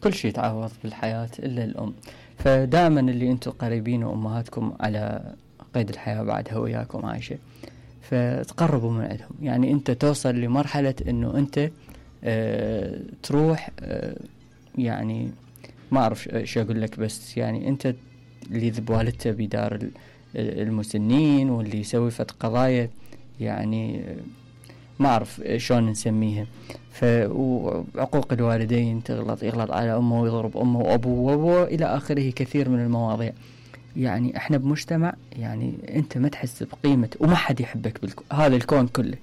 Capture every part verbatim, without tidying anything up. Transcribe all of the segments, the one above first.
كل شيء تعوض بالحياة إلا الأم. فدائما اللي أنتم قريبين وأمهاتكم على قيد الحياة بعدها وياكم عايشة، فتقربوا من عندهم. يعني أنت توصل لمرحلة أنه أنت اه تروح اه يعني ما أعرف شو أقول لك، بس يعني أنت اللي ذب والدته بدار المسنين، واللي يسوي فت قضايا يعني ما أعرف شلون نسميها. فعقوق الوالدين، تغلط يغلط على أمه ويضرب أمه وأبوه وأبوه إلى آخره، كثير من المواضيع. يعني إحنا بمجتمع يعني أنت ما تحس بقيمة وما حد يحبك بالكون، هذا الكون كله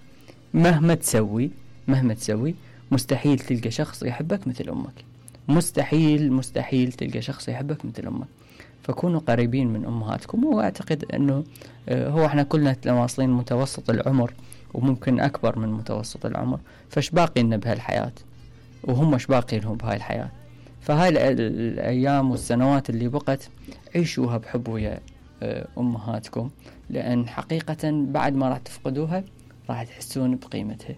مهما تسوي مهما تسوي مستحيل تلقى شخص يحبك مثل أمك، مستحيل مستحيل تلقى شخص يحبك مثل أمك. فكونوا قريبين من أمهاتكم. وأعتقد أنه هو إحنا كلنا واصلين متوسط العمر وممكن أكبر من متوسط العمر، فش باقي لنا بهالحياة وهم ايش باقي لهم بهاي الحياة. فهاي الأيام والسنوات اللي بقت عيشوها بحب ويا أمهاتكم، لأن حقيقة بعد ما راح تفقدوها راح تحسون بقيمتها.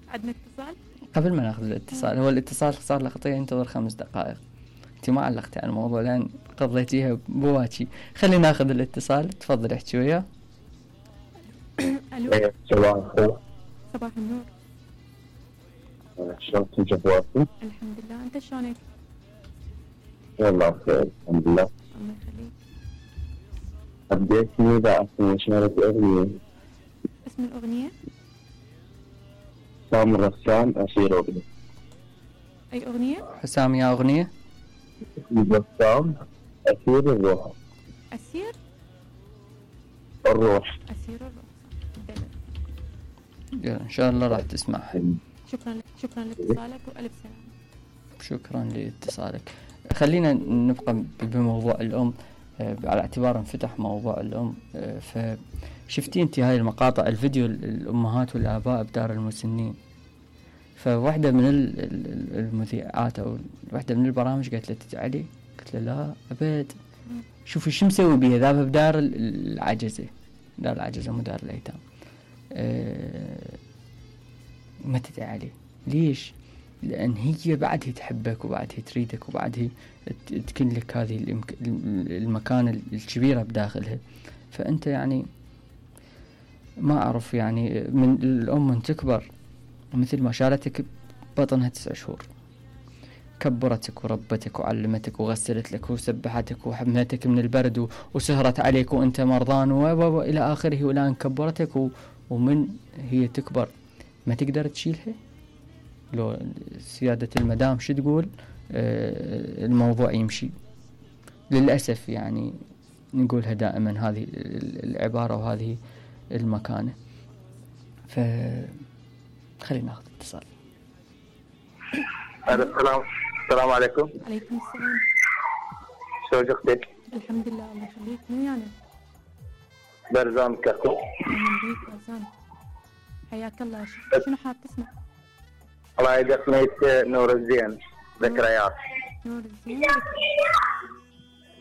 عندنا اتصال؟ قبل ما ناخذ الاتصال، هو الاتصال صار له خطية ينتظر خمس دقائق. انت ما علقتي على الموضوع لأن قضيتيها بواجي. خلينا ناخذ الاتصال. تفضل احكي وياه. الو. صباح الخير. صباح النور. شلونكم جواتي؟ الحمد لله، انت شلونك؟ والله بخير الحمد لله. الله يخليك. حبيت إذا أشارك أغنية. اسم الأغنية؟ حسام الرسام أسير أغنية. أي أغنية؟ حسام يا أغنية؟ الرسام أسير الروح. أسير؟ الروح. أسير الروح. إن شاء الله راح تسمعها. شكرا لك، شكرا لاتصالك وألف سلامة. شكرا لاتصالك. خلينا نبقى بموضوع الأم على اعتبار انفتح موضوع الأم. فشفتي انت هاي المقاطع الفيديو الأمهات والآباء بدار المسنين، فواحدة من المذيعات أو واحدة من البرامج قالت له تجعلي، قلت له لا أبد، شوفي شو مسوي بيها، ذابها بدار العجزة، دار العجزة مو دار الأيتام. أه ما تدعي عليه. ليش؟ لأن هي بعدها تحبك وبعدها تريدك وبعدها تكن لك هذه المكان الكبيرة بداخلها. فأنت يعني ما أعرف يعني من الأم من تكبر مثل ما شالتك بطنها تسع شهور، كبرتك وربتك وعلمتك وغسلت لك وسبحتك وحملتك من البرد وسهرت عليك وأنت مرضان وإلى آخره، والآن كبرتك ومن هي تكبر ما تقدر تشيلها. لو سيادة المدام شو تقول آه الموضوع يمشي. للأسف يعني نقولها دائما هذه العبارة وهذه المكانة. فخلينا ناخذ اتصال. السلام السلام عليكم. عليكم السلام. شو اختك؟ الحمد لله الله يخليك. من ويانا؟ برزان كاكو. اهلا بيك برزان، حياك الله. شنو حاب تسمع؟ الله يدق ميت نور الزين ذكريات. نور الزين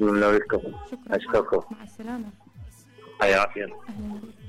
من نوركم. شكرا. اشكركم. مع السلامة. حياك الله. اهلا بيك.